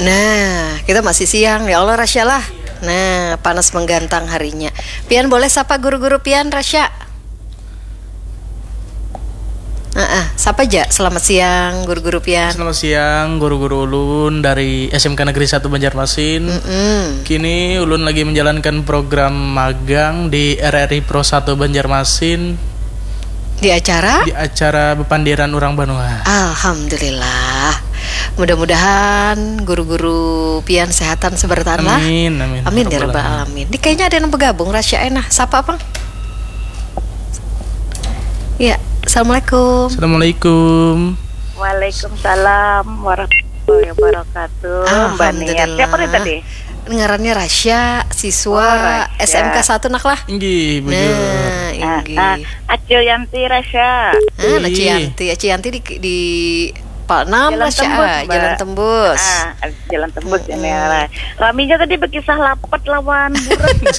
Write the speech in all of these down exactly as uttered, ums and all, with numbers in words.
Nah, kita masih siang. Ya Allah, Rasya lah. Nah, panas menggantang harinya. Pian boleh sapa guru-guru pian, Rasya? Heeh, sapa ja? Selamat siang, guru-guru pian. Selamat siang, guru-guru ulun dari S M K Negeri Satu Banjarmasin. Mm-mm. Kini ulun lagi menjalankan program magang di R R I Pro Satu Banjarmasin. Di acara? Di acara bepandiran urang banua. Alhamdulillah. Mudah-mudahan guru-guru pian sehatan seberataan lah. Amin, amin. Amin ya rabbal alamin. Ini kayaknya ada yang bergabung, Rasya, eh, nah. Sapa, Pang? Ya, assalamualaikum. Assalamualaikum. Waalaikumsalam warahmatullahi wabarakatuh. Mbak Nia. Alhamdulillah. Siapa nih tadi? Ngarannya Rasya, siswa Oh, Rasya. S M K satu nak lah. Inggih, bujur. Nah, Ah, inggih. ah, Acil Yanti Rasya. Ah, Acil Ih. Yanti, Acil Yanti di, di Pal enam Jalan Rasya, Tembus, ah, Mbak. Jalan Tembus. Ah, Jalan Tembus ini Mm-mm. lah. Raminya tadi berkisah lapat lawan buras.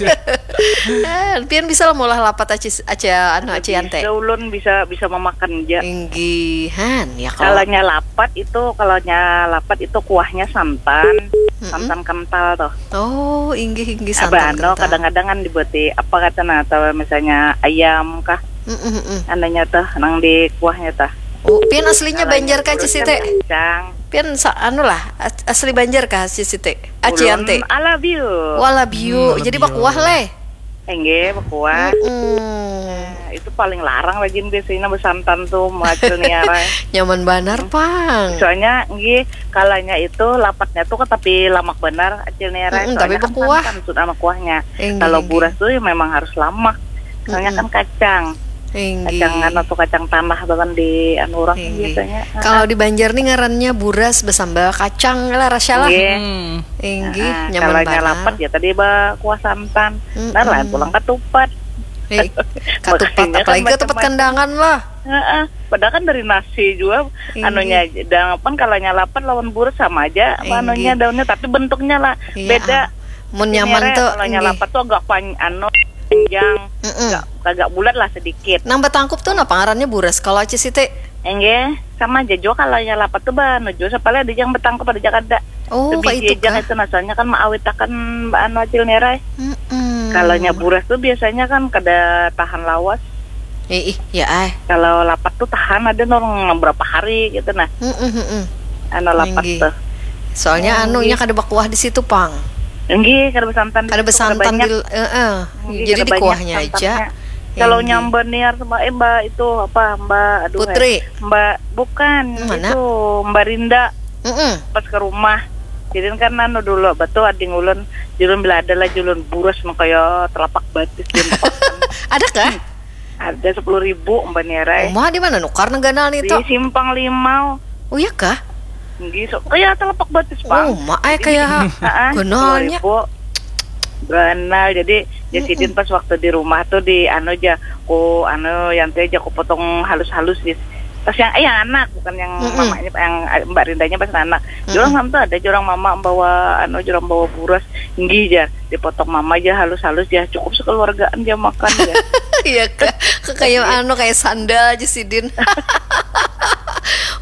Eh, pian bisa lah maulah lapat aci, aci, anu, Aci Yanti. Bisa ulun bisa, bisa memakan ja. Inggihan, ya kalau Kalanya lapat itu, kalanya lapat itu kuahnya santan, Mm-mm. santan kental tuh. Oh, inggih, inggih, Abah, santan anu, kental. Kadang-kadang kan dibuati apa kata nah, atau misalnya ayam kah, Mm-mm, mm-mm. Anunya tuh, nang di kuahnya tuh. Oh, pian aslinya Kalanya Banjar kah, Ci Siti? Kacang. Pian sa-, anu lah, as-, asli Banjar kah, Ci Siti? Aci Ulun Yanti? Ala biu. Wala biu. Hmm, ala Jadi biu. Bakuah leh. Enggak, bakuah. Mm-mm. Nah, itu paling larang lagi biasanya besantan tuh, Acil Nia, Rai. Nyaman banar, Pang. Soalnya, nggih, kalanya itu lapatnya tuh tapi lamak banar, Acil Nia, Rai. Mm-mm, tapi bakuah. Soalnya kan santan sudah sama kuahnya. Enggih, enggih. Kalau buras tuh ya memang harus lamak. Soalnya Mm-mm. kan kacang. Inggih. Kacang anu tuh, kacang tanah tuh kan di anu urang Inggih. Biasanya. Kalau di Banjar nih ngarannya buras besambal kacang lah, Rasya lah. Inggih. Hmm. Inggih, nyaman banar. Kalau lapat ya tadi bakuah santan. Mm-mm. Nah, lain pulang katupat. Eh, katupat, makanya kan apalagi katupat macam-macam. Kandangan lah. Heeh. Padahal kan dari nasi juga. Inggih. Anunya aja. Dan apa, kalau lapat lawan buras sama aja. Inggih. Anunya daunnya, tapi bentuknya lah beda. Iya. Mun nyaman tuh, kalau lapat tuh agak pan-, anu, panjang, Mm-mm. agak, agak bulat lah sedikit. Nang batangkup tuh napa ngarannya, buras kalau Aci Siti? Enggak, sama aja juga kalau lapat tuh banu juga, sapalih ada yang batangkup, ada yang kada. Oh, kayak itu kah? Itu nah, soalnya kan maawitakan anu Acil Nia, Rai. Mm-mm. Kalau buras tuh biasanya kan kada tahan lawas. Eh, ih, ya ai. Kalau lapat tuh tahan ada nang berapa hari gitu nah. Mm-mm, mm-mm. Anu lapat tuh. Inggih. Soalnya anunya kada bakuah di situ, Pang. Inggih, kada besantan di situ, kada banyak. Kada besantan di, heeh. Inggih, jadi kada banyak santannya. Jadi di kuahnya aja. Kalau Inggih. Mbak Niar sama, eh, Mbak itu apa, Mbak, aduh, Putri. Eh, Mbak, bukan, mana? Itu Mbak Rinda. Mm-mm. Pas ke rumah. Jadi kan anu dulu, betul ading ulun, julun bila ada lah, julun buras nang kaya telapak batis. Ada kah? Ada sepuluh ribu, Mbak Niar ai. Uma, di mana nukar nang ganal nih, Tok? Di Simpang Limau. Oh, iya kah? Nggih, so, kaya telapak batis, Pang. Uma ai, jadi, kaya heeh, ganalnya. Sepuluh ribu. Ganal. Jadi, ya, mm-mm, sidin pas waktu di rumah tuh di anu aja, ku anu, Yanti aja ku potong halus-halus, Sis. Pas yang, eh, yang anak, bukan yang mm-mm, mamanya, yang, eh, Mbak Rindanya pas anak. Mm-mm. Jurang sama tuh ada jurang mama bawa anu, jurang bawa buras. Nggih, jar. Dipotong mama aja halus-halus ya, cukup sekeluargaan dia makan ya. Iya, Kak. Kak, kayak anu, kayak sandal aja sidin.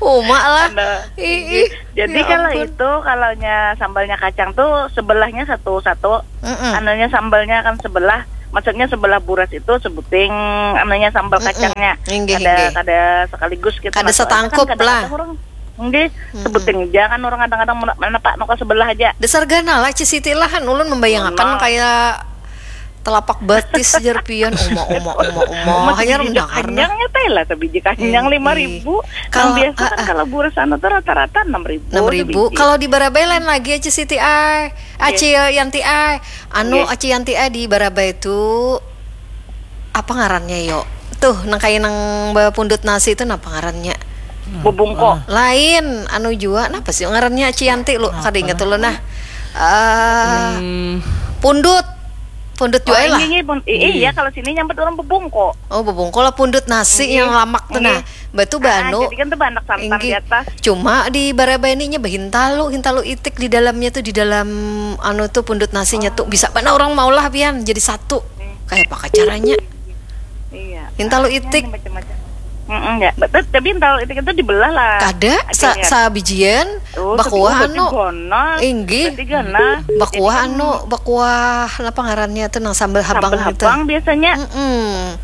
Uma lah. Sandal. Ih, ih. Jadi ya kalau ampun. Itu, kalaunya sambalnya kacang tuh sebelahnya satu-satu. Mm-mm. Anunya sambalnya kan sebelah, maksudnya sebelah buras itu sebuting anunya sambal mm-mm, kacangnya. Inggih, kada, inggih. Kada sekaligus gitu. Kada nah, soalnya kan setangkup kadang-kadang lah. Orang Nggih, mm-mm, sebuting ja kan orang kadang-kadang mana, mana Pak, nuka sebelah aja. Dasar ganal lah, Ci Siti lah, kan ulun membayangakan kayak telapak batis jar pian, uma, uma, uma, uma. Uma hanyar sebiji mendengar, nah. Kanyangnya teh lah, sebiji kanyang eh, lima ribu. Eh. Nang biasa kan kalau buras anu tuh rata-rata enam ribu. Enam ribu sebiji. Kalau di Barabai lain lagi, Ci Siti ai. Nggih. Aci Yanti ai. Anu, nggih. Aci Yanti ai di Barabai tuh apa ngarannya yo? Tuh, nang kaya nang bapundut nasi itu napa ngarannya? Bubungko. Ah. Lain, anu jua, napa sih ngarannya Aci Yanti lu? Napa? Kada ingat ulun nah. Eh, hmm. Pundut. Pundut jua lah. Oh, ini, ini, pun, i-, iya, kalau sini nyambat orang bubungko. Oh, bubungko lah pundut nasi yang lamak tuh nah. Nggih. Batu banu. Ah, jadi kan tuh banyak santan di atas. Nggih. Cuma di Barabai ini nya bahintalu, hintalu itik di dalamnya tuh, di dalam anu tuh pundut nasinya tuh. Oh. Bisa banar orang maulah pian jadi satu. Kayak apa caranya? Iya. Hintalu itik. Macam-macam. Mm-mm, ya. Tapi, tapi intal itik itu dibelah lah. Kada, sa, sabijian. Oh, bakuah anu. Inggih. Bakuah anu, bakuah apa ngarannya tuh, nang sambal habang. Sambal habang biasanya. Mm-mm.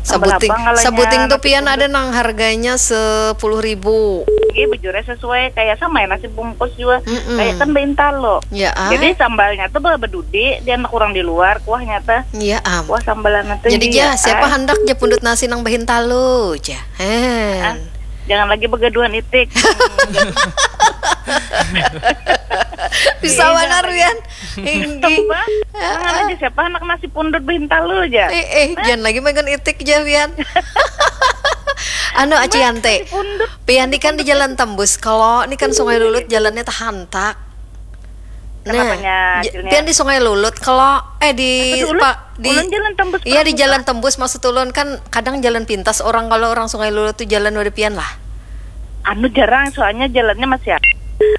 Sabuting, sabuting tuh pian ada nang harganya sepuluh ribu. Iya, bujurnya sesuai kayak sama ya nasi bungkus juga. Mm-mm. Kayak kan bahintalu. Ya, ah. Jadi sambalnya tuh bala bedudi, dia anak kurang di luar, kuahnya tuh. Iya, am. Kuah sambalan tuh. Jadi dia, ja, siapa ah, handak ja pundut nasi nang bahintalu ja. Hen. Ah, jangan lagi begaduhan itik. Bisa banar, Wian. Inggih. Nang aja siapa anak nasi pundut bahintalu aja. Eh, eh, jangan lagi megan itik ja, Pian. Anu, Aci Yante. Pian ni kan di Jalan Tembus. Kalau ni kan Sungai Lulut jalannya tahantak. Nah, Pian di Sungai Lulut. Kalau, eh, di, di Jalan Tembus. Iya, di Jalan Tembus, maksud ulun kan kadang jalan pintas orang, kalau orang Sungai Lulut tuh jalan wadah pian lah. Anu jarang, soalnya jalannya masih,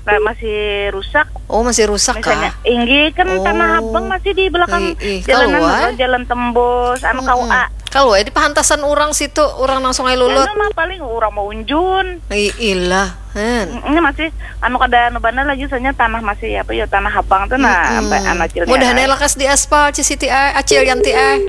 masih rusak. Oh, masih rusak kah? Inggih, kan Tanah Abang masih di belakang jalanan, jalan tembus, anu, K U A. Kalau di pahantasan orang situ, orang nang Sungai Lulut. Anu mah paling orang mau unjun. Ilah, hen. Ini masih anu kada anu banar lagi, soalnya tanah masih apa ya, Tanah Abang tuh, nah, sampai anak kecil. Mudahan lakas di aspal, Ci Siti ai, Acil Yanti ai.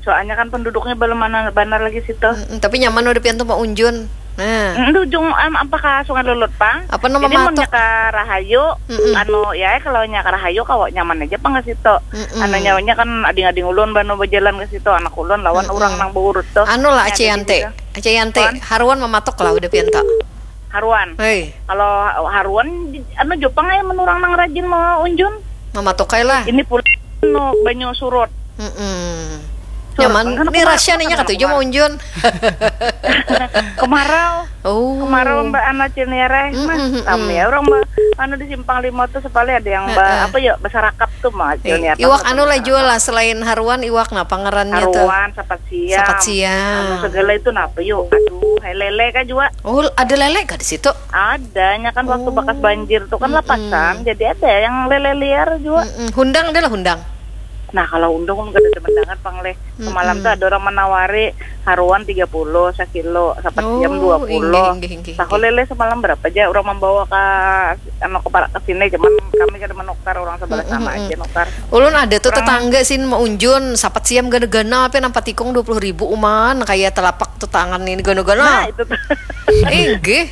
Soalnya kan penduduknya belum mana banar lagi situ. Mm-mm, tapi nyaman udah pian tuh mau unjun. Nah. Mm, di ujung, em, apa ka Sungai Lulut pang. Apa nama? Jadi mun nya ka Rahayu, mm-mm, anu ya, kalau nya ka Rahayu kawa nyaman aja pang ke situ. Mm-mm. Anu nyawanya kan ading-ading ulun banu berjalan ke situ, anak ulun lawan orang nang beurut tuh. Anu lah, Aci Yante. Aci Yante, haruan mematok lah udah pian tuh. Haruan. Hei. Kalau haruan, anu jopang ya menurang nang rajin mau unjun. Mamatok lah. Ini pula anu banyu surut. Mm-mm. Nyaman. Ini rahasia nih, katuju mau unjun. Kemarau. Oh. Kemarau Mbak Ana Cilniara, mah. Kami ya orang Mbak, anu di Simpang Lima tuh sepali ada yang Mbak, apa ya, basarakap tuh mah Cilniara. Iwak anu lah jual lah, selain haruan, iwak napa ngarannya tuh? Haruan, sapat siam. Sapat siam. Anu segala itu napa yuk? Aduh, hai lele kah juga? Oh, ada lele kah di situ? Ada, nya kan waktu bakas banjir tuh kan lapasan, jadi ada yang lele liar juga. Mm-mm. Hundang ada lah, hundang. Nah, kalau undang ulun kada demen banget pang leh. Semalam tuh ada orang menawari haruan tiga puluh sakilo, sapat siam dua puluh. Tahu lele semalam berapa aja orang membawa ke anu, ke parak ke sini, cuman kami kada menukar, orang sebelah sana aja nukar. Ulun ada tuh tetangga sin meunjun sapat siam gana-gana, apa nampak tikung dua puluh ribu uman, kayak telapak tuh tangan ini gana-gana. Nah, itu tuh. Inggih.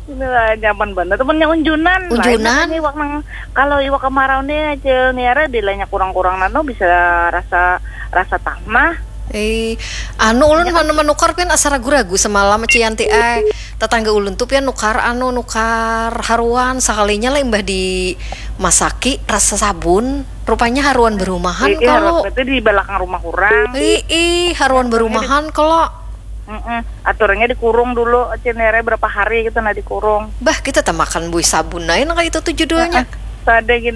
Inilah nyaman banget temennya unjunan. Unjunan. Ini iwak nang, kalau iwak kemarau nih, Cilniara, bilanya kurang-kurang nano bisa rasa, rasa tanah. Eh, anu ulun mana menukar pian asa ragu-ragu semalam, Cianti ai. Tetangga ulun tuh pian nukar anu, nukar haruan, sakalinya lah imbah di masaki rasa sabun. Rupanya haruan berumahan kalau. Itu di belakang rumah kurang. Ih, haruan berumahan kalau. Mm-mm. Aturannya dikurung dulu, Cinere berapa hari gitu, nah, dikurung. Bah, kita tamakan bui sabun aja, nah, itu tuh judulnya. Sada gin.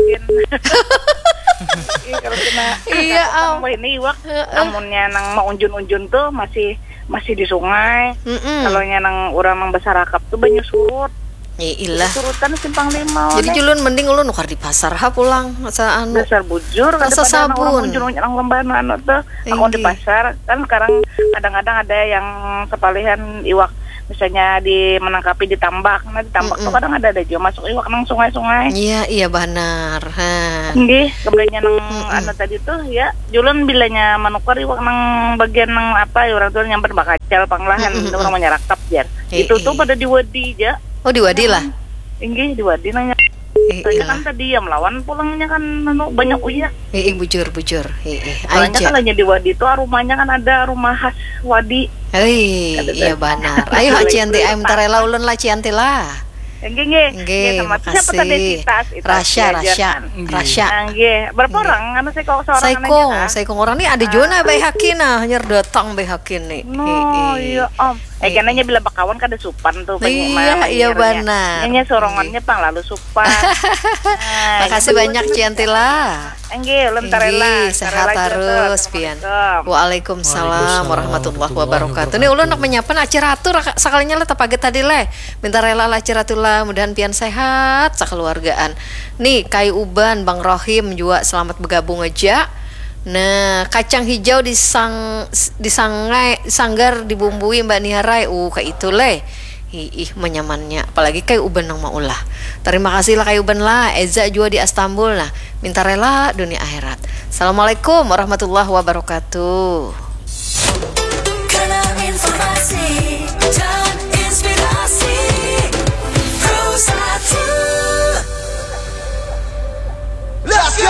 Iya, kalau kena, iya, am. Ini iwak, amunnya nang maunjun-unjun tuh masih, masih di sungai. Mm-mm. Kalau nya nang orang nang basarakap tuh banyu surut. Ya ilah. Surutan simpang lima. Jadi julun mending ulun nukar di pasar ha pulang, asa anu. Dasar bujur, rasa sabun. Orang lembah anu tuh. Aku di pasar kan sekarang kadang-kadang ada yang sepalihan iwak, misalnya di menangkapi di tambak, nah di tambak tuh kadang ada ada juga masuk iwak nang sungai-sungai. Iya, iya banar. Ha. Nggih, kembalinya nang anu tadi tuh ya, julun bilanya menukar iwak nang bagian nang apa ya, orang tuh nyamper bakacal panglahan, itu orang menyerakap jar. Itu tuh pada di wadi aja. Oh, di wadi lah. Inggih, di wadi nanya. Soalnya kan tadi yang melawan pulangnya kan anu, banyak uyah. Ih, bujur, bujur. Soalnya kan hanya di wadi itu rumahnya kan ada rumah khas wadi. Hei, iya banar. Ayo, Cianti, ayo minta rela ulun lah, Cianti lah. Nggih, nggih. Nggih, makasih. Siapa tadi? Rasya, Rasya. Rasya. Nggih. Berapa orang? Anu, saikung, seorang aja kah? Saikung orang ni ada juga nah, baik hakin nah, hanyar datang baik hakin ni. No, iya, Om. Eh, kenanya bila bakawan kada supan tuh, iya, iya, banar. Hanya sorongannya pang lalu supan. Makasih banyak, Cianti lah. Enggih, ulun tarela. Sehat tarela, terus, Pian. Assalamualaikum. Waalaikumsalam warahmatullahi wabarakatuh. Nih, ulun nak menyapa nak Ci Ratu, sakalinya lah tapagat tadi leh. Minta rela lah Ci Ratu lah, mudahan pian sehat sakeluargaan. Nih, Kai Uban, Bang Rohim juga selamat bergabung aja. Nah, kacang hijau disang disangai sanggar dibumbui Mbak Niarai. Uh, kayak itu leh. Ih, menyamannya. Apalagi kayak uban nang maulah. Terima kasih lah kayak uban lah. Eza juga di Astambul nah. Minta rela dunia akhirat. Assalamualaikum warahmatullahi wabarakatuh.